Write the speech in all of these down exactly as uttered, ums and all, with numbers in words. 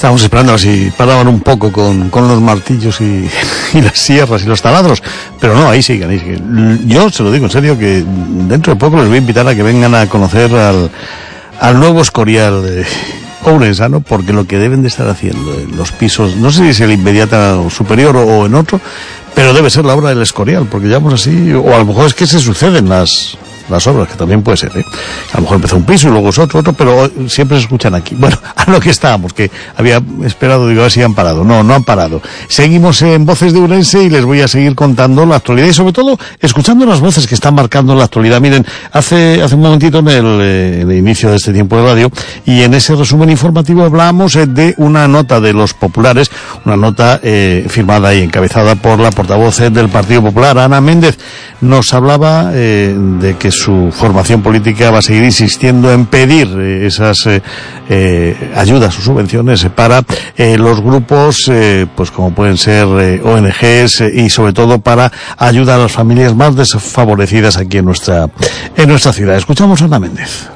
Estábamos esperando a ver si paraban un poco con, con los martillos y, y las sierras y los taladros, pero no, ahí siguen, ahí siguen. Yo se lo digo en serio que dentro de poco les voy a invitar a que vengan a conocer al, al nuevo Escorial de ourensano, porque lo que deben de estar haciendo en los pisos, no sé si es el inmediato superior o, o en otro, pero debe ser la obra del Escorial, porque llevamos así, o a lo mejor es que se suceden las... las obras, que también puede ser, ¿eh? A lo mejor empezó un piso y luego es otro, otro, pero siempre se escuchan aquí. Bueno, a lo que estábamos, que había esperado, digo, a ver si han parado. No, no han parado. Seguimos en Voces de Ourense y les voy a seguir contando la actualidad y sobre todo escuchando las voces que están marcando la actualidad. Miren, hace, hace un momentito en el, eh, el inicio de este tiempo de radio y en ese resumen informativo hablábamos eh, de una nota de los populares, una nota eh, firmada y encabezada por la portavoz eh, del Partido Popular, Ana Méndez. Nos hablaba eh, de que su formación política va a seguir insistiendo en pedir eh, esas eh, eh, ayudas o subvenciones para eh, los grupos, eh, pues como pueden ser eh, O N Ges eh, y sobre todo para ayudar a las familias más desfavorecidas aquí en nuestra en nuestra ciudad. Escuchamos a Ana Méndez.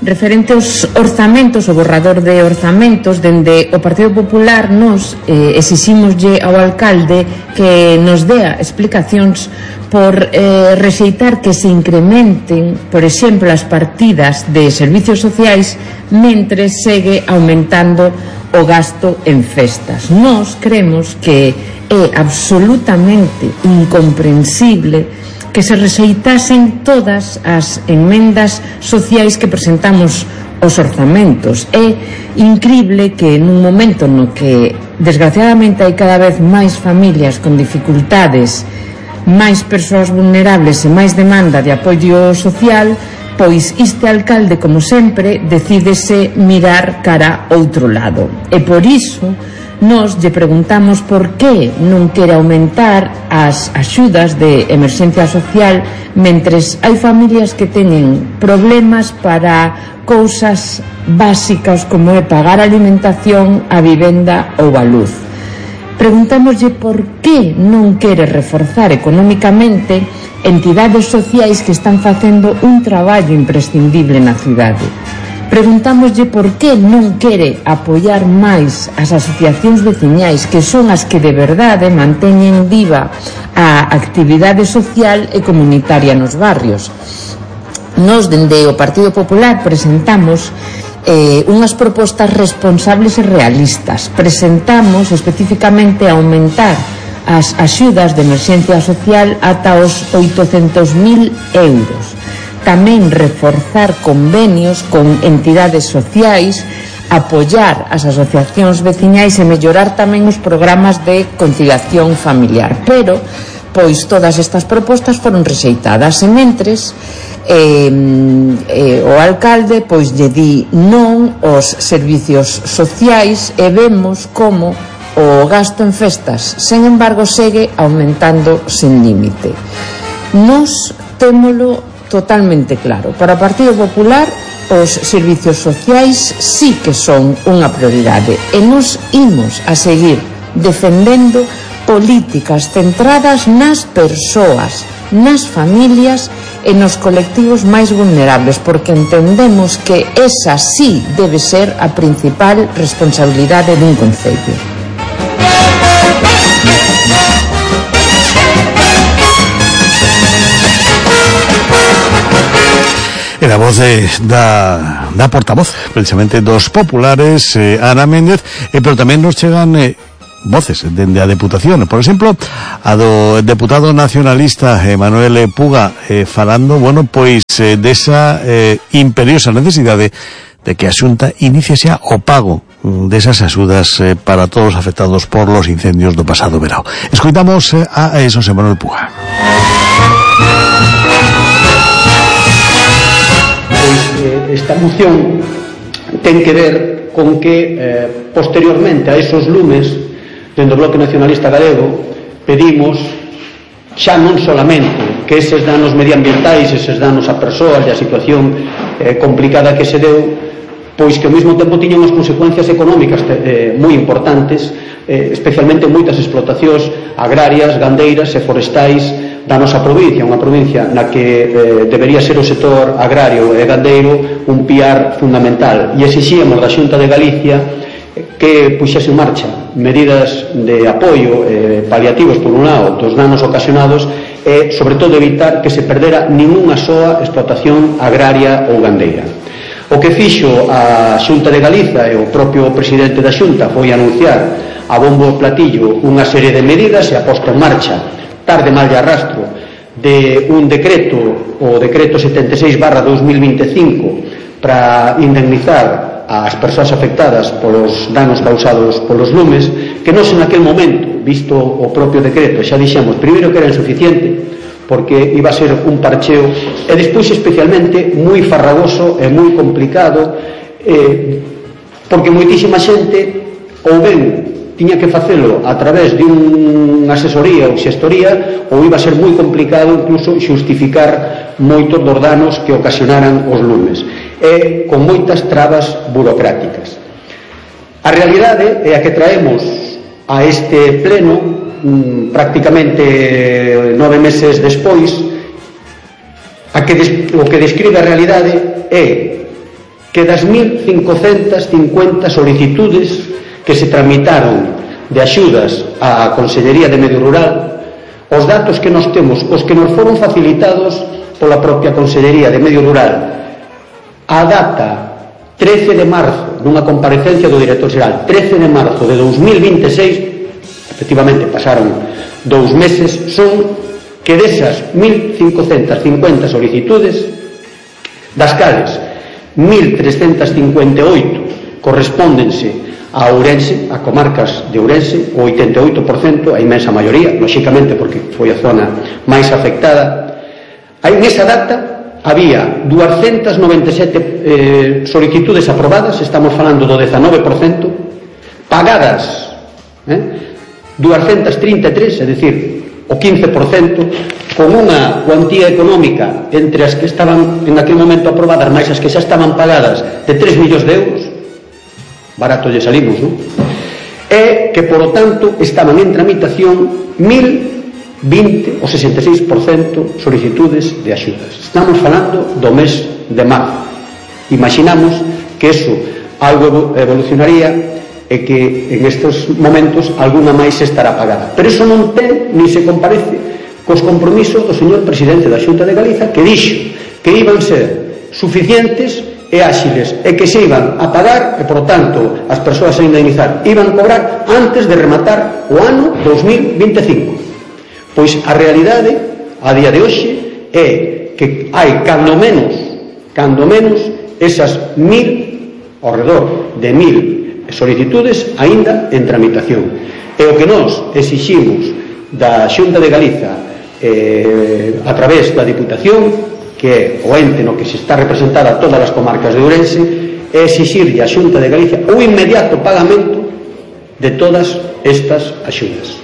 Referente aos orzamentos, o borrador de orzamentos, dende o Partido Popular nos eh, exiximoslle ao alcalde que nos dea explicacións por eh, rexeitar que se incrementen, por exemplo, as partidas de servicios sociais mentres segue aumentando o gasto en festas. Nós creemos que é absolutamente incomprensible que se rexeitasen todas as enmendas sociais que presentamos aos orzamentos. É incrible que nun momento no que desgraciadamente hai cada vez máis familias con dificultades, máis persoas vulnerables e máis demanda de apoio social, pois este alcalde, como sempre, decídese mirar cara outro lado. E por iso nos lle preguntamos por que non quere aumentar as axudas de emerxencia social mentres hai familias que teñen problemas para cousas básicas como é pagar a alimentación, a vivenda ou a luz. Preguntámoslle por que non quere reforzar económicamente entidades sociais que están facendo un traballo imprescindible na cidade. Preguntámoslle por que non quere apoiar máis as asociacións veciñais, que son as que de verdade manteñen viva a actividade social e comunitaria nos barrios. Nos, dende o Partido Popular, presentamos eh, unhas propostas responsables e realistas. Presentamos especificamente aumentar as axudas de emerxencia social ata os oitocentos mil euros. Tamén reforzar convenios con entidades sociais, apoiar as asociacións veciñais e mellorar tamén os programas de conciliación familiar. Pero, pois, todas estas propostas foron rexeitadas e mentres eh, eh, o alcalde pois lle di non aos servicios sociais e vemos como o gasto en festas, sen embargo, segue aumentando sen límite. Nos témolo totalmente claro. Para o Partido Popular, os servicios sociais sí que son unha prioridade e nos imos a seguir defendendo políticas centradas nas persoas, nas familias e nos colectivos máis vulnerables, porque entendemos que esa sí debe ser a principal responsabilidade dun concello. Era a voz de, da, da portavoz, precisamente, dos populares, eh, Ana Méndez, eh, pero tamén nos chegan eh, voces dende a Deputación. Por exemplo, a do deputado nacionalista eh, Manuel Puga, eh, falando, bueno, pois, eh, desa eh, imperiosa necesidade de que a Xunta inicie xa o pago desas axudas eh, para todos os afectados por los incendios do pasado verao. Escoitamos eh, a Xosé Manuel Puga. Esta moción ten que ver con que eh, posteriormente a esos lumes dentro do Bloque Nacionalista Galego pedimos xa non solamente que eses danos medioambientais, eses danos a persoas e a situación eh, complicada que se deu, pois que ao mesmo tempo tiñan unhas consecuencias económicas eh, moi importantes, eh, especialmente moitas explotacións agrarias, gandeiras e forestais da nosa provincia, unha provincia na que eh, debería ser o sector agrario e gandeiro un piar fundamental, e exixíamos da Xunta de Galicia que puxese en marcha medidas de apoio eh, paliativos por un lado dos danos ocasionados e sobre todo evitar que se perdera ninguna soa explotación agraria ou gandeira. O que fixo a Xunta de Galiza e o propio presidente da Xunta foi anunciar a bombo e platillo unha serie de medidas e a posta en marcha tarde mal de arrastro de un decreto, o decreto setenta e seis barra dos mil veinticinco, para indemnizar as persoas afectadas polos danos causados polos lumes, que non en aquel momento, visto o propio decreto, xa dixemos, primeiro que era insuficiente porque iba a ser un parcheo e despois especialmente moi farragoso e moi complicado eh, porque moitísima xente ou ben tiña que facelo a través de unha asesoría ou xestoría ou iba a ser moi complicado incluso xustificar moitos dos danos que ocasionaran os lumes e con moitas trabas burocráticas. A realidade é a que traemos a este pleno mmm, prácticamente nove meses despois. A que des, o que describe a realidade é que das mil cincocentas cincuenta solicitudes que se tramitaron de axudas á Consellería de Medio Rural, os datos que nos temos, os que nos foron facilitados pola propia Consellería de Medio Rural, a data trece de marzo, nunha comparecencia do director xeral, trece de marzo de dos mil vinte e seis, efectivamente pasaron dous meses, son que desas mil cincocentas cincuenta solicitudes, das cales mil trescentas cincuenta e oito correspóndense a Ourense, a comarcas de Ourense, o oitenta e oito por cento, a inmensa maioría, lóxicamente porque foi a zona máis afectada. Aí nesa data había duascentas noventa e sete eh, solicitudes aprobadas, estamos falando do dezanove por cento, pagadas eh, duascentas trinta e tres, é dicir, o quince por cento, con unha cuantía económica entre as que estaban en aquel momento aprobadas máis as que xa estaban pagadas de tres millóns de euros, barato lle salimos, non? E que, por lo tanto, estaban en tramitación mil vinte, o sesenta e seis por cento, solicitudes de axudas. Estamos falando do mes de marzo. Imaginamos que eso algo evolucionaría e que en estes momentos alguna máis estará pagada. Pero eso non ten, ni se comparece cos compromisos do señor presidente da Xunta de Galiza, que dixo que iban ser suficientes e áxiles e que se iban a pagar e, por tanto, as persoas a indemnizar iban a cobrar antes de rematar o ano dos mil vinte e cinco. Pois a realidade a día de hoxe é que hai cando menos cando menos esas mil, ao redor de mil solicitudes aínda en tramitación. E o que nós exiximos da Xunta de Galiza eh, a través da Diputación, que é o ente no que se está representada todas as comarcas de Ourense, é exixirlle á Xunta de Galicia o inmediato pagamento de todas estas axudas.